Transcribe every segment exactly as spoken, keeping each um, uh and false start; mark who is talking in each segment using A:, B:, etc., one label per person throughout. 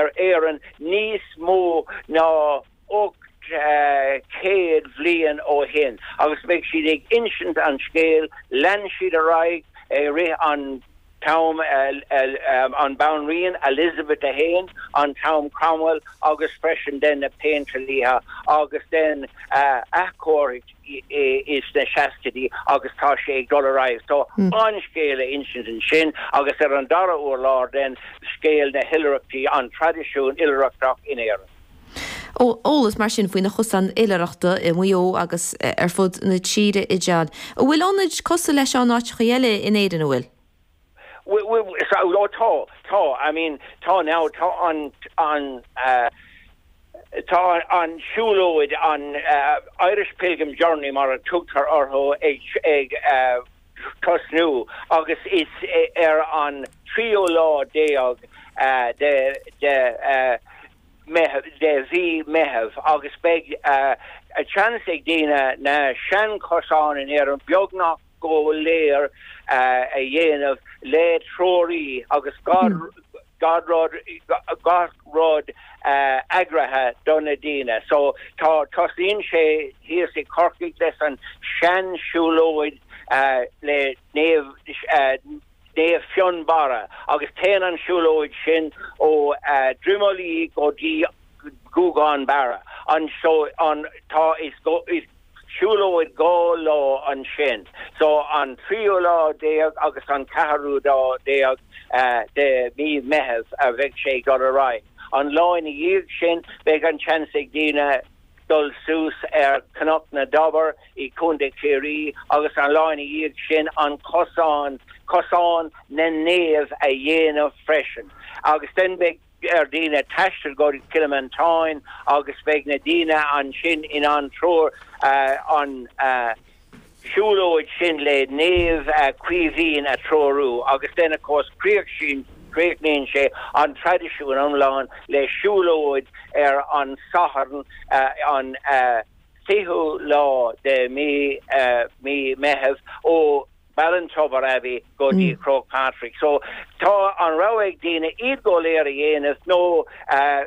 A: ar Éirinn níos mó ná ocht céad bhliain ó shin agus beidh siad ag insint an scéal lean siad ar aghaidh i rith an t-am an Banríon Elizabeth a haon an t-am Cromwell agus freisin den na Péintéirí agus den athchóiriú is na seascaidí agus tá sé ag dul ar aghaidh. So an scéal a insint ansin agus ar an dara urlár den scéal na hoilithreachtaí an traidisiún oilithreachta in Éirinn.
B: Eolas mar sin faoi na cosáin oilithreachta i Maigh Eo agus ar fud na tíre a John. An bhfuil ionaid cosúil leis seo in áiteacha eile in Éirinn an bhfuil?
A: So tá tá I mean tá now tá an an uh, tá an siúlóid an uh, Irish Pilgrim Journey mar a tugtar orthu ag ag uh, tosnú agus is ar an tríú lá déag uh, de de uh, de mhí Meitheamh agus beidh uh, a chance ag daoine na seanchosáin in Éirinn beagnach go léir uh, a dhéanamh le treoraí agus gach gach rud gach rud uh, eagraithe do na daoine. So tá tosaíonn sé thíos i Corcaigh leis an seansiúlóid uh, le Naomh uh, Naomh Fionnbarra agus téann an siúlóid sin ó uh, Droim Lia go dtí Gougane Barra. An so an tá is go is siúlóid dhá lá ansin. So an tríú lá déag agus an ceathrú lá déag uh, de mí Meitheamh a bheidh sé go ar aghaidh. An lá ina dhiaidh sin beidh an chance ag daoine dul suas ar Cnoc na dTobar i Contae Chiarraí agus an lá ina dhiaidh sin an cosán cosán na naomh a dhéanamh freisin. Agus den beidh ar daoine taisteal go Cill Mhantáin agus beidh na daoine ansin in an treoir uh, an uh, siúlóid sin le Naomh uh, Caoimhín a treorú agus den of course críoch sin críochnaíonn sé an traidisiún iomlán le siúlóid ar an Satharn uh, an uh, fichiú lá de mí uh, mí Meitheamh ó Ballintubber Abbey go dtí mm. Croagh Patrick. So tá an rogha ag daoine iad go léir a dhéanamh nó uh,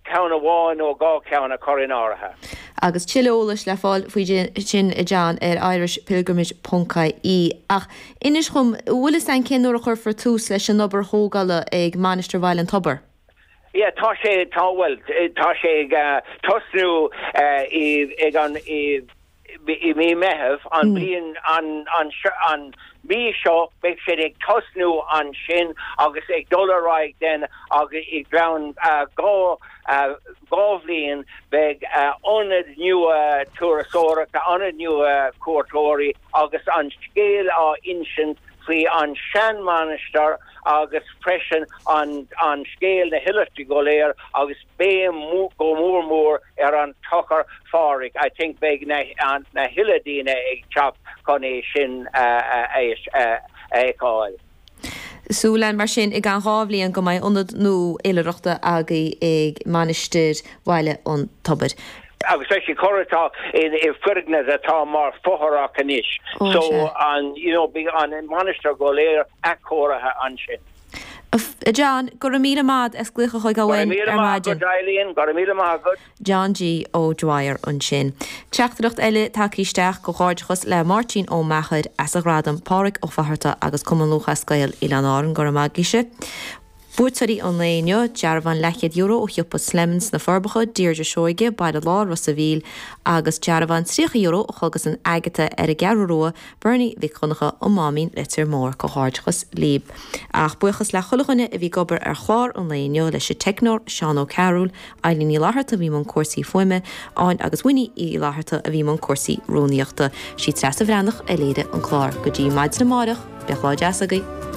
A: ceann amháin nó dhá cheann a chur in áirithe.
B: Agus tuilleadh eolais le fáil faoi sin a John ar irishpilgrimage.ie ach inis dom bhfuil an cén uair a chuirfear tús leis an obair thógála ag Mainistir Bhaile an Tobair.
A: Ja, tá sé tá well tá sé ag uh, tosnú uh, ag an i i mí Meitheamh an bliain an an an mí seo beidh sé ag tosnú ansin agus ag dul ar aghaidh den agus i gceann uh, dhá uh, dhá bhliain beidh uh, ionad nua turasóireachta ionad nua cuairteoirí agus an scéal á insint faoi an seanmhainistir agus freisin an an scéal na hoilithreachtaí go léir agus béim go mór mór ar an Tochar Phádraig. I think beidh na an na huile daoine ag teacht chun é sin a fheiceáil.
B: Súil mar sin i gceann dhá bhliain go mbeidh ionad nua oilithreachta agaibh ag Mainistir Bhaile an Tobair.
A: Agus sé chortá in i foirgneamh atá mar fothrach anois. So an you know beidh an mainistir go léir athchóirithe ansin.
B: John, go raibh míle maith as glaoch chuig againn ar maidin.
A: Go míle maith
B: John G O'Dwyer ansin. Teachtaireacht eile tagtha isteach comhghairdeachas le Máirtín Ó Meachair as a ghradam Pádraig Ó Fatharta agus Cumann Lúthchleas Gael Oileáin Árann go raibh maith agaibhse. Buaiteoirí an lae inniu dearbhán leathchéad euro ó shiopa Slemons na Forbacha Deirdre Seoige Baile Láir Ros an Mhíl agus dearbhán tríocha euro ó Chógas an Agatha ar an gCeathrú Rua Bernie Mhic Dhonncha Ó Máimín Leitir Móir comhghairdeachas libh. Ach buíochas le chuile dhuine a bhí ag obair ar chlár an lae inniu leis an teicneoir Seán Ó Cearúil, Eileen Ní Fhlatharta a bhí i mbun cúrsaí fuaime, áin agus Winnie Uí Fhlatharta a bhí i mbun cúrsaí rúnaíochta. Sí Treasa Bhreathnach a léirigh an clár go dtí maidin amárach, bíodh lá deas agaibh.